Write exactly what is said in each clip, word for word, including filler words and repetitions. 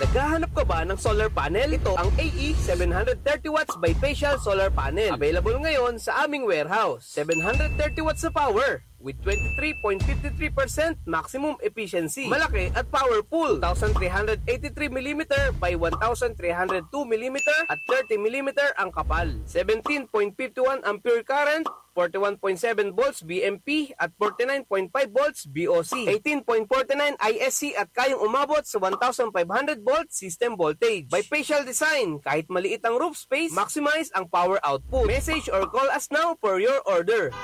Naghahanap ka ba ng solar panel? Ito ang A E seven hundred thirty watts bifacial solar panel. Available ngayon sa aming warehouse. Seven hundred thirty watts na power with twenty-three point five three percent maximum efficiency. Malaki at powerful. Two thousand three hundred eighty-three millimeter by one thousand three hundred two millimeter at thirty millimeter ang kapal. Seventeen point five one ampere current, forty-one point seven volts V M P at forty-nine point five volts V O C, eighteen point forty-nine I S C at kayang umabot sa one thousand five hundred volt system voltage. Bifacial design, kahit maliit ang roof space, maximize ang power output. Message or call us now for your order.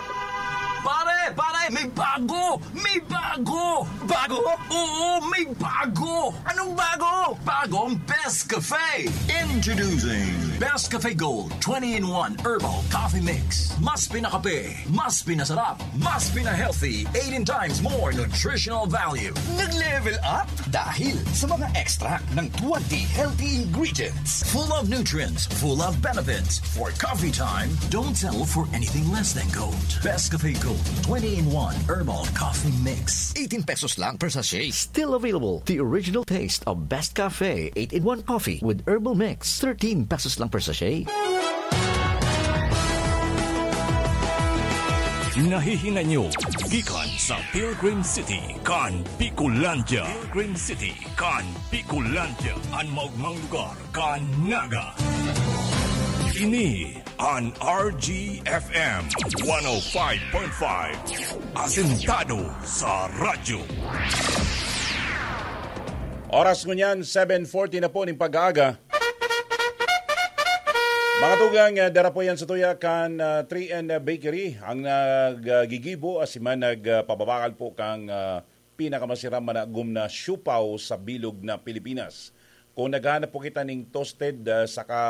Pare, pare, may bago! May bago! Bago? Oo, may bago! Anong bago? Bagong Best Cafe! Introducing Best Cafe Gold twenty-in-one Herbal Coffee Mix. Mas pinakape, mas pinasarap, mas pina-healthy, eighteen times more nutritional value. Nag-level up dahil sa mga extract ng twenty healthy ingredients. Full of nutrients, full of benefits. For coffee time, don't settle for anything less than gold. Best Cafe Gold twenty-in-one Herbal Coffee Mix. Eighteen pesos lang per sachet. Still available, the original taste of Best Cafe eight-in-one Coffee with Herbal Mix. Thirteen pesos lang per sachet. Nahihinay nyo gikan sa Pilgrim City kan Bicolandia. Pilgrim City kan Bicolandia, an maogmang lugar kan Naga. Ini an R G F M one oh five point five, asentado sa radyo. Oras ngunyan, seven forty na po ning pag-aaga. Mga tugang, ah, dara po yan sa tuya kan ah, three N Bakery, ang naggigibo asin man nagpababakal po kang ah, pinakamasiram managom na siupaw sa bilog na Pilipinas. Kung naghahanap po kita ning toasted ah, saka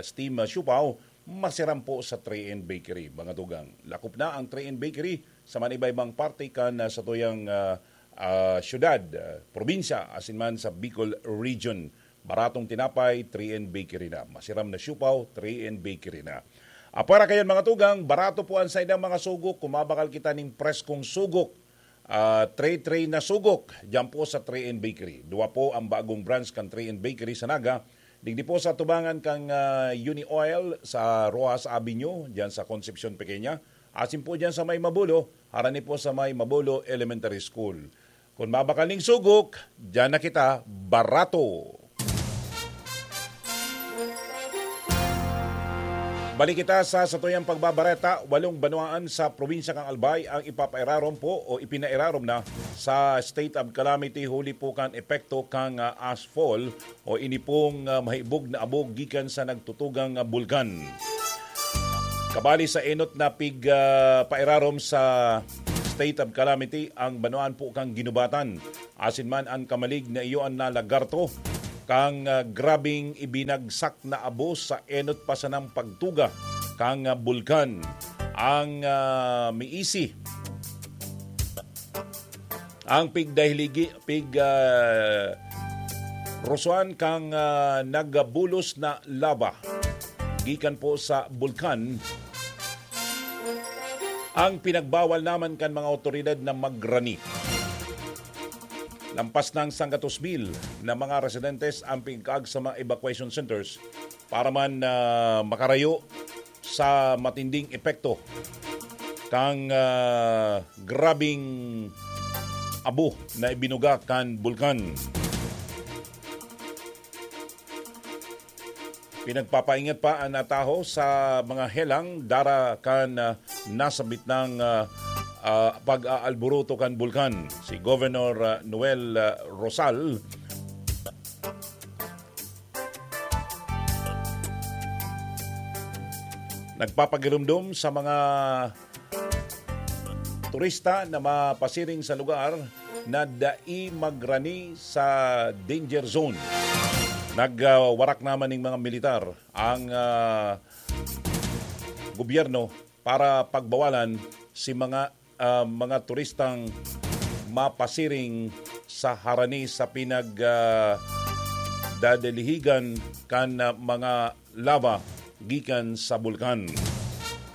steam ah, siupaw, masiram po sa three N Bakery, mga tugang. Lakop na ang three N Bakery sa manibaybang parte kan ah, sa tuyang ah, ah, syudad, ah, probinsya, asin man sa Bicol Region. Baratong tinapay, three N Bakery na. Masiram na siupaw, three N Bakery na. Apwera kayan, mga tugang, barato po ang saindang mga sugok. Kung mabakal kita ning preskong sugok, ah, tray-tray na sugok, diyan po sa three N Bakery. Duwa po ang bagong branch kan three N Bakery sa Naga. Digdi po sa tubangan kan ah, Uni Oil sa Roxas Avenue, diyan sa Concepcion Pequeña. Asin po diyan sa may Mabulo, harani po sa may Mabulo Elementary School. Kung mabakal ning sugok, diyan na kita, barato. Balik kita sa satuyang pagbabareta, walong banwaan sa probinsya kan Albay ang ipapairarom po o ipinairarom na sa state of calamity huli po kan epekto kan ah, ashfall o ini pong ah, mahibog na abo gikan sa nagtutugang ah, bulkan. Kabali sa enot na pig ah, pairarom sa state of calamity ang banwaan po kan Guinobatan. Asin man an kamalig na iyo an nalagarto kan ah, grabing ibinagsak na abo sa enot pa sanang pagtuga kan ah, bulkan. Ang ah, miisi ang pig Dahiligi, pig ah, Rosuan kan ah, nagabulos na lava gikan po sa bulkan ang pinagbawal naman kan mga otoridad na magrani. Lampas ng sanggatos mil na mga residentes ang pigkaag sa mga evacuation centers para man ah, makarayo sa matinding epekto kang ah, grabing abo na ibinuga kan bulkan. Pinagpapaingat pa an nataho sa mga helang dara kan ah, nasabit ng ah, ah, pag-aalburuto kan bulkan. Si Governor ah, Noel ah, Rosal nagpapagirumdom sa mga turista na mapasiring sa lugar na dai magrani sa danger zone. Nagwarak naman ning mga militar ang ah, gobyerno para pagbawalan si mga ah, mga turistang mapasiring sa harani sa pinag ah, dadalihigan kan ah, mga lava gikan sa bulkan.